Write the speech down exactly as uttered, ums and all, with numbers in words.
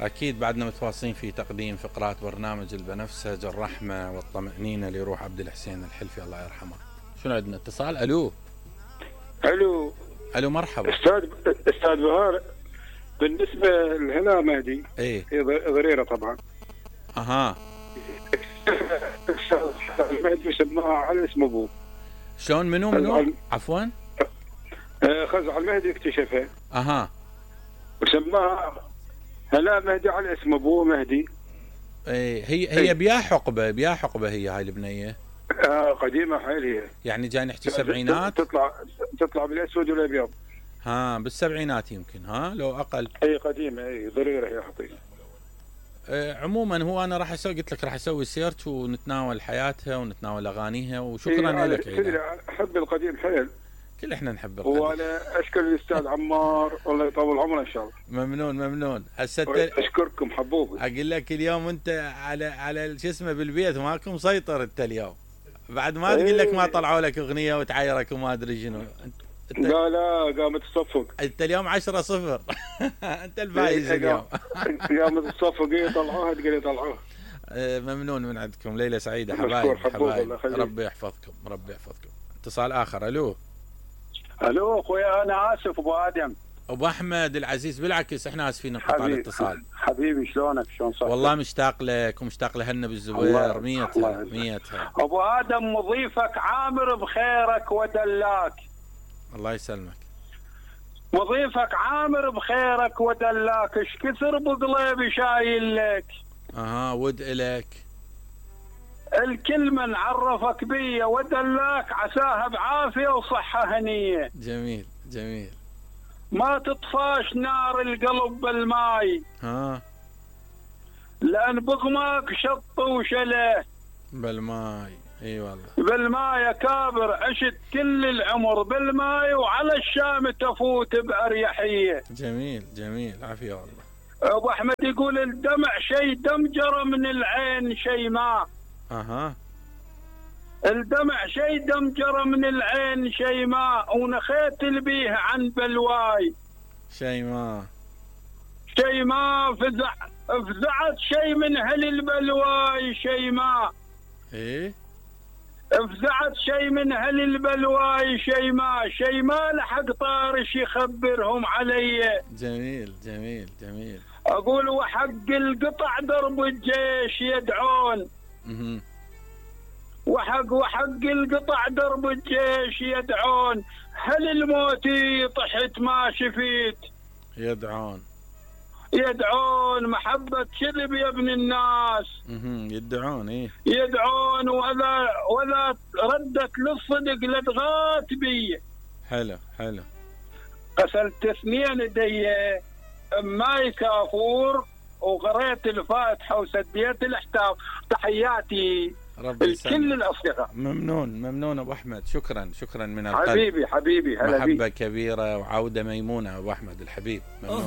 أكيد بعدنا متواصلين في تقديم فقرات برنامج البنفسج الرحمة والطمأنينة لروح عبد الحسين الحلفي الله يرحمه. شنو عندنا اتصال؟ ألو ألو ألو مرحبا أستاذ أستاذ بهار، بالنسبة لهنا مهدي إيه هي ضريرة طبعا. أها المهدي سماها على اسم أبوه. شلون منو منو؟ عفوا خزع المهدي اكتشفها. أها وسماها هلا مهدي على اسم ابوه مهدي. ايه هي هي بيا حقبه بيا حقبه هي هاي البنيه. آه قديمه حيل هي. يعني جاي نحكي سبعينات. تطلع تطلع بالاسود والابيض. ها بالسبعينات يمكن، ها لو اقل. اي قديمه، اي ضريره هي حقيقه. آه عموما هو انا راح اسوي، قلت لك راح اسوي سيرش ونتناول حياتها ونتناول اغانيها، وشكرا إيه لك. تدري احب القديم حيل. كل احنا نحب القديم. وانا اشكر الاستاذ عمار الله يطول عمره ان شاء الله. ممنون ممنون. هسه اشكركم حبوبي. اقول لك اليوم انت على على شو اسمه بالبيت ماكو مسيطر انت اليوم. بعد ما تقول لك ما طلعوا لك اغنيه وتعايرك وما ادري شنو. لا لا قامت تصفق. انت اليوم عشرة صفر. انت الفايز اليوم. قامت تصفق. ايه طلعوها تقول لي طلعوها. ممنون من عندكم. ليله سعيده حبايب حبايب. ربي يحفظكم ربي يحفظكم. اتصال اخر. الو الو اخويا، انا اسف ابو ادم. ابو احمد العزيز، بالعكس احنا اسفين نقطع الاتصال. حبيبي شلونك؟ شلون صار؟ والله مشتاق لك ومشتاق لهنا بالزوير. ميتها ميتها. ابو ادم مضيفك عامر بخيرك ودلاك. الله يسلمك. مضيفك عامر بخيرك ودلاك، ايش كثر بقلبي شايل لك. اها ود الك. الكل من عرفك بيا ودلاك عساها بعافيه وصحه هنيه. جميل جميل. ما تطفاش نار القلب بالماي. ها لان بغماك شط وشله بالماي. اي والله بالماي يا كابر، عشت كل العمر بالماي وعلى الشام تفوت باريحيه. جميل جميل عافيه والله. ابو احمد يقول الدمع شيء دم جرى من العين شيء ما. اها الدمع شيء دم جرى من العين شيء ما، ونخيت البيه عن بلواي شيء ما. شيء ما فزع فزعت شيء من هل البلواي شيء ما. ايه فزعت شيء من هل البلواي شيء ما، شيء ما لحق طارش يخبرهم علي. جميل جميل جميل. اقول وحق القطع درب الجيش يدعون. اها وحق وحق القطع درب الجيش يدعون، هل الموتي طحت ما شفيت. يدعون يدعون محبة كذب يا ابن الناس. اها يدعون. ايه يدعون ولا ولا ردت للصدق لدغات بي. حلو حلو. غسلت اثنين يدي ماي كافور وقريت الفاتحة وسديت الاحتاف. تحياتي لكل الاصدقاء. ممنون ممنون ابو احمد. شكرا شكرا من القلب. حبيبي حبيبي هلا محبة كبيرة وعودة ميمونة ابو احمد الحبيب. ممنون.